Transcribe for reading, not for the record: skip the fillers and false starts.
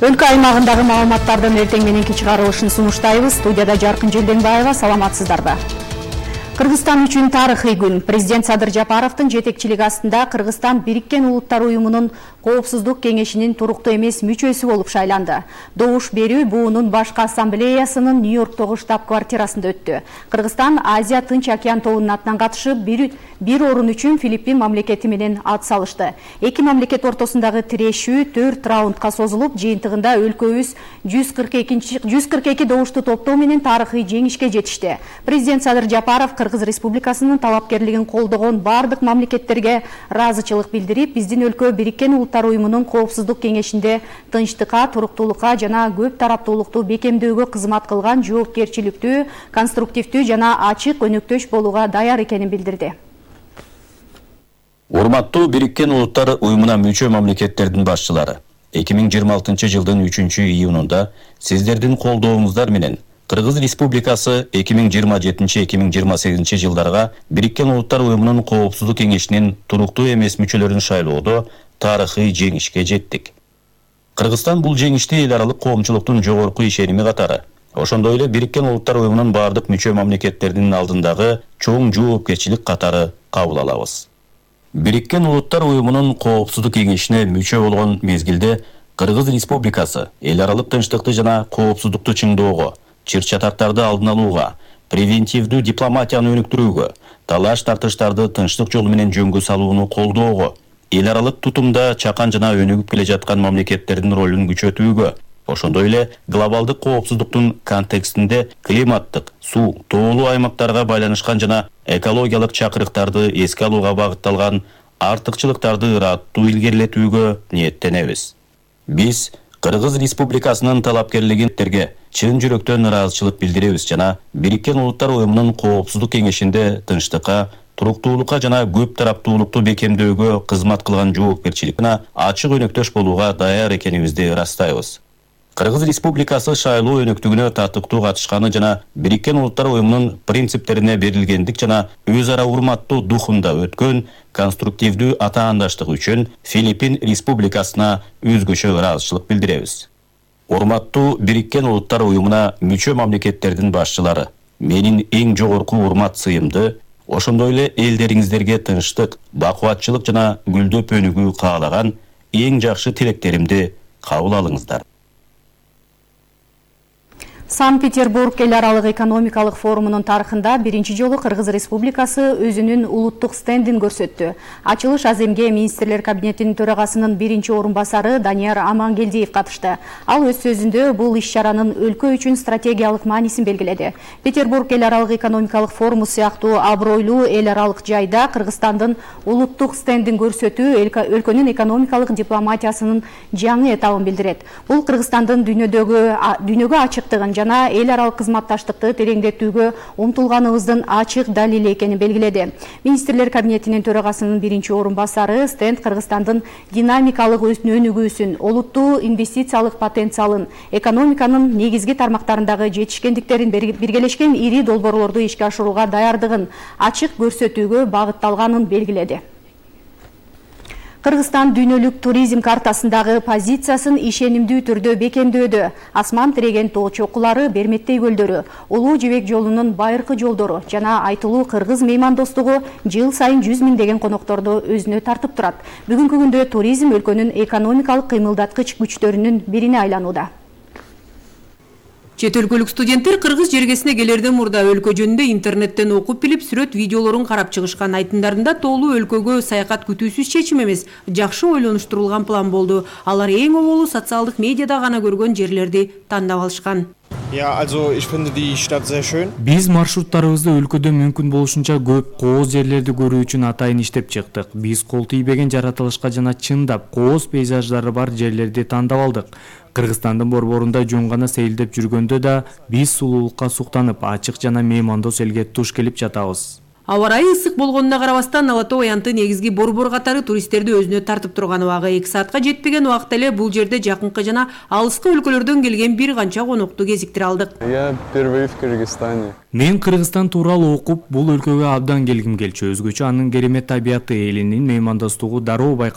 Өлкө аймагындагы маалыматтардын эртең мененки чыгарылышын сунуштайбыз. Студияда Жаркын Желденбаева, саламатсыздарбы? Кыргызстан үчүн тарыхый күн. Президент Садыр Жапаровдун жетекчилиги астында Кыргызстан Бириккен Улуттар Уюмунун Коопсуздук кеңешинин туруктуу эмес мүчөсү болуп шайланды. Добуш берүү буунун башкы ассамблеясынын Нью-Йорктогу штаб-квартирасында өттү. Кыргызстан Азия Тынч океан тобунун атынан катышып, бир орун үчүн Филиппин мамлекети менен ат салышты. Эки мамлекет ортосундагы тирешүү 4 раундка созулуп, жыйынтыгында өлкөбүз 142 добушту топтоо менен тарыхый жеңишке жетишти. Президент Садыр Жапаров Кыргыз Республикасынын талапкерлигин колдогон бардык мамлекеттерге ыраазычылык билдирип, биздин өлкө Бириккен Улуттар Уюмунун Коопсуздук кеңешинде тынчтыкка, туруктуулукка жана көп тараптуулукту бекемдөөгө кызмат кылган жоопкерчиликтүү, конструктивдүү жана ачык өнөктөш болууга даяр экенин билдирди. Урматтуу Бириккен Улуттар Уюмуна мүчө мамлекеттердин башчылары, 2026 жылдын 3-июнунда сиздердин колдооңуздар менен Кыргыз Республикасы 2027-2028 жылдарга Бириккен Улуттар Уюмунун Коопсуздук кеңешинин туруктуу эмес мүчөлөрүн шайлоодо тарыхый жеңишке жеттик. Кыргызстан бул жеңишти эл аралык коомчулуктун жогорку ишеними катары, ошондой эле Бириккен Улуттар Уюмунун бардык мүчө мамлекеттердин алдындагы чоң жоопкерчилик катары кабыл алабыз. Бириккен Улуттар Уюмунун Коопсуздук кеңешине мүчө болгон мезгилде Кыргыз Республикасы эл аралык тынчтыкты жана коопсуздукту чыңоого, чыр-чатактарды алдын алууга, превентивдүү дипломатияны өнүктүрүүгө, талаш-тартыштарды тынчтык жолу менен жөнгө салууну колдоого, эл аралык тутумда чакан жана өнүгүп келе жаткан мамлекеттердин ролун күчөтүүгө, ошондой эле глобалдык коопсуздуктун контекстинде климаттык, суу, тоолуу аймактарга байланышкан жана экологиялык чакырыктарды эске алууга багытталган артыкчылыктарды ыраттуу илгерилетүүгө ниеттенебиз. Биз Кыргыз Республикасынын талапкерлигинтерге чын жүрөктөн ыраазычылык билдиребиз жана Бириккен Улуттар Уюмунун Коопсуздук кеңешинде тынчтыкка, туруктуулукка жана көп тараптуулукту бекемдөөгө кызмат кылган жоопкерчиликке ачык өнөктөш болууга даяр экенибизди ырастайбыз. Кыргыз Республикасы шайлоо өнөктүгүнө татыктуу катышканы жана Бириккен Улуттар Уюмунун принциптерине берилгендик жана өз ара урматтуу духунда өткөн конструктивдүү атаандаштык үчүн Филиппин Республикасына өзгөчө ыраазычылык билдиребиз. Урматтуу Бириккен Улуттар Уюмуна мүчө мамлекеттердин башчылары, менин эң жогорку урмат сыйымды, ошондой эле элдериңиздерге тынчтык, бакубатчылык жана гүлдөп өнүгүү каалаган эң жакшы тилектеримди кабыл алыңыздар. Санкт-Петербург эл аралык экономикалык форумунун тарыхында биринчи жолу Кыргыз Республикасы өзүнүн улуттук стендин көрсөттү. Ачылыш аземге министрлер кабинетинин төрагасынын биринчи орун басары Данияр Амангелдиев катышты. Ал өз сөзүндө бул иш-чаранын өлкө үчүн стратегиялык маанисин белгиледи. Петербург эл аралык экономикалык форуму сыяктуу абройлуу эл аралык жайда Кыргызстандын улуттук стендин көрсөтүү өлкөнүн экономикалык дипломатиясынын жаңы этабын билдирет. Бул Кыргызстандын дүйнөгө ачыктыгын жана эл аралык кызматташтыкты тереңдетүүгө умтулганыбыздын ачык далили экенин белгиледи. Министрлер кабинетинин төрагасынын биринчи орун басары стенд Кыргызстандын динамикалык өнүгүүсүн, олуттуу инвестициялык потенциалын, экономиканын негизги тармактарындагы жетишкендиктерин, биргелешкен ири долбоорлорду ишке ашырууга даярдыгын ачык көрсөтүүгө багытталганын белгиледи. Кыргызстан дүйнөлүк туризм картасындагы позициясын ишенимдүү түрдө бекемдөөдө. Асман тиреген тоо чокулары, Берметтей көлдөрү, Улуу Жибек жолунун байыркы жолдору жана айтылуу кыргыз меймандостугу жыл сайын 100 миңдеген конокторду өзүнө тартып турат. Бүгүнкү күндө туризм өлкөнүн экономикалык кыймылдаткыч күчтөрүнүн бирине айланууда. Чет өлкөлүк студенттер кыргыз жергесине келерден мурда өлкө жөнүндө интернеттен окуп билип, сүрөт видеолорун карап чыгышкан. Айтымдарында тоолуу өлкөгө саякат күтүүсүз чечим эмес, жакшы ойлонуштурулган план болду. Алар эң оболу социалдык медиада гана көргөн жерлерди тандап алышкан. Биз маршруттарыбызды өлкөдө мүмкүн болушунча көп кооз жерлерди көрүү үчүн атайын иштеп чыктык. Биз кол тийбеген жаратылышка жана чындап кооз пейзаждары бар жерлерди тандап алдык. Кыргызстандын борборунда жөн гана сейилдеп жүргөндө да биз сулуулукка суктанып, ачык жана меймандос элге туш келип жатабыз. Аба ырайы ысык болгонуна карабастан Ала тоо аянты негизги борбор катары туристтерди өзүнө тартып турган убагы 2 саатка жетпеген убакта эле бул жерде жакынкы жана алыскы өлкөлөрдөн келген бир канча конокту кезиктире алдык. Я впервые в Кыргызстане. Мен Кыргызстан тууралуу окуп, бул өлкөгө абдан келгим келчү. Өзгөчө анын керемет табияты, элинин меймандостугу дароо